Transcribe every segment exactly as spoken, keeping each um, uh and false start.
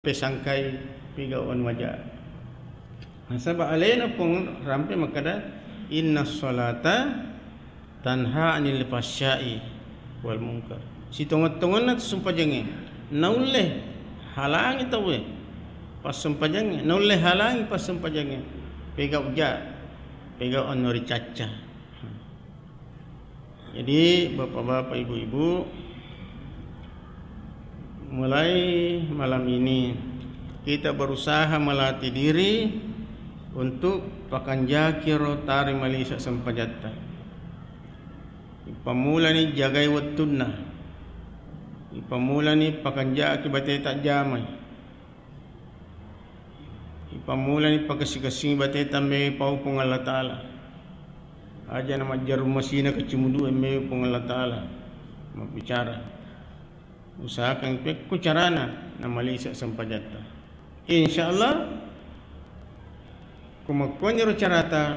pesangkai pigau anu maja. Nasaba alena Puang rampe makkeda, "Inna sholata tanha anil fahsya'i wal munkar." Sitongeng-tongenna tu sempajangnge, naulle halangi tauwe passempajangnge, naulle halangi passempajangnge. Pegau ja, pegau anu ricacca. Jadi, bapak-bapak, ibu-ibu, mulai malam ini kita berusaha melatih diri untuk pakanjaki ro tari malisa sempajatta. Ipammulani jagai wettunna. Ipammulani pakanjaki bateta jamai. Ipammulani pakessing-kessingi bateta mewai pau Puang Allah Ta'ala. Aja na majjarung masina kacimudue mewai Puang Allah Ta'ala mabbicara. Usahakan pekko carana namalisa sempajatta. Insya Allah, ko makkuaniro carata,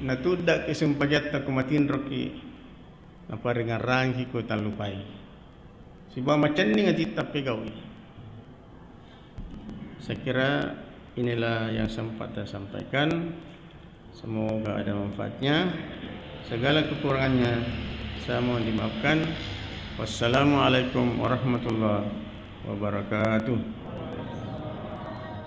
natuddaki sempajatta ko matinroki, naparingarrangki ko tallupai. Sibawa macenning atitta pegaui. Saya kira inilah yang sempat saya sampaikan. Semoga ada manfaatnya. Segala kekurangannya saya mohon dimaafkan. Wassalamualaikum warahmatullahi wabarakatuh.